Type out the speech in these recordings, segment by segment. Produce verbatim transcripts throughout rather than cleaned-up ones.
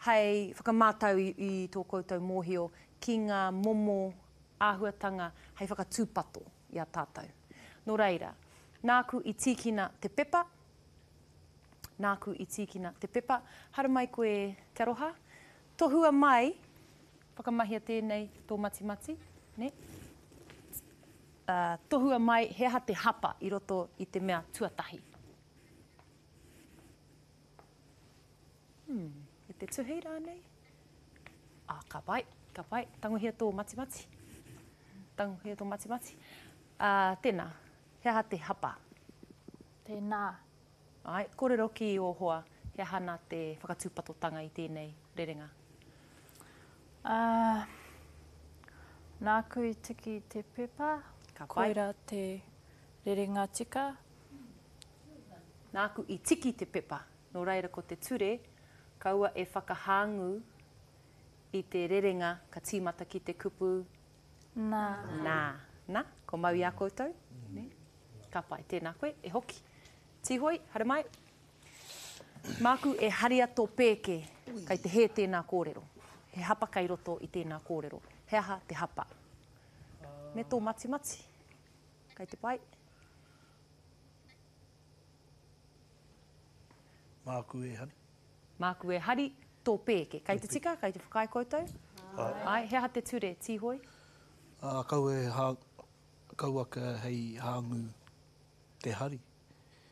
Hei whakamātau i, i tō koutou mōhio ki ngā momo āhuatanga hei whakatūpato i a tātou. Nō reira, nāku i tīkina te pepa, nāku i tīkina te pepa, haramai koe Te Aroha, tohua mai, whakamahia tēnei tō matimati, ne? Uh, tohua mai he aha te hapa i roto i te mea tuatahi. Hmm, e te tuhi rānei? Ah, ka pai, ka pai. Tangohia tō matimati. Tangohia tō matimati. Uh, tēnā, he aha te hapa? Tēnā. Ai, kōrero ki ō hoa, he aha nā te whakatūpatotanga i tēnei rerenga? Uh, nāku i tiki te pepa, Ka pai. koira te rerenga tika. Nāku i tiki te pepa. Nō reira ko te ture, kaua e whakahāngū i te rerenga ka tīmata ki te kupu Nā. Nā. Nā, ko mau i a koutou. Ne? Ka pai, tēnā koe, e hoki. Tīhoi, haere mai. Māku e haria tō pēke, kei te hē tēnā kōrero. He hapa kei roto i tēnā kōrero. He aha te hapa? Me tō matimati. Kei te pai. Māku e hari. Māku e hari tō pēke. Kei te tika, kei te whakaae koutou? Ai, he aha te ture, Tīhoi? Uh, kaua e hā, kauaka hei hāngū te hari.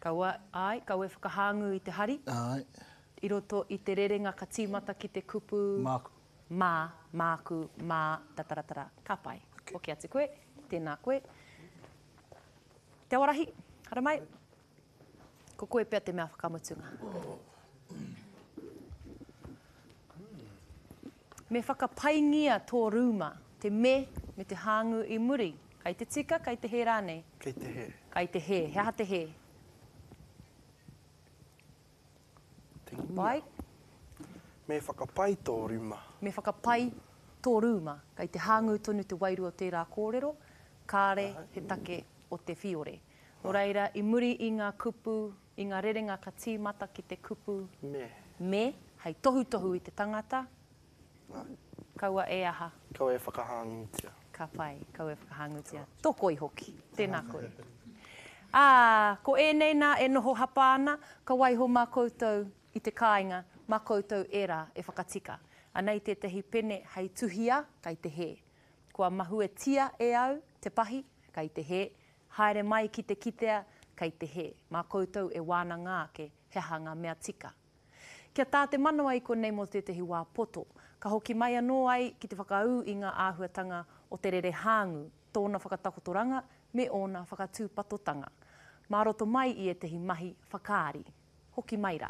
Kaua, ai, kaua e whakahāngū i te hari. Ai. I roto i te rerenga ka tīmata ki te kupu... Māku. Mā, māku, mā, tataratara. Ka pai. Okay. Hoki atu koe, tēnā koe. Te Awarahi, haramai. Ko koe pea te mea whakamutunga. Me whakapaingia tō rūma, te me me te hāngū i muri. Kei te tika, kei te hē rānei? Kei te hē. Kei te hē. He aha te hē? Te ngia. Pai. Me whakapai tō rūma. Me whakapai tō rūma. Kei te hāngū tonu te wairua o tērā kōrero, kāre he take o te whiore. Nō reira, i muri i ngā kupu, i ngā rerenga ka tīmata ki te kupu Me. me, hei tohutohu i te tangata, Ai. kaua e aha. Kaua e whakahāngūtia. Ka pai, kaua e whakahāngūtia. Tō koi hoki, tēnā koe. Ā, ko ēnei nā e noho hapa ana, ka waiho mā koutou i te kāinga, mā koutou ērā e whakatika. Anei tētahi pene hei tuhia, kei te hē. Kua mahuetia e au te pahi, kei te hē. Haere mai ki te kitea, kei te hē. Mā koutou e wānanga ake, he aha ngā mea tika. Kia tā te manawa i konei mō tētahi wā poto, ka hoki mai anō ai ki te whakaū i ngā āhuatanga o te rere hāngū, tōna whakatakotoranga me ōna whakatūpatotanga. Mā roto mai i ētahi mahi whakaari. Hoki mai rā.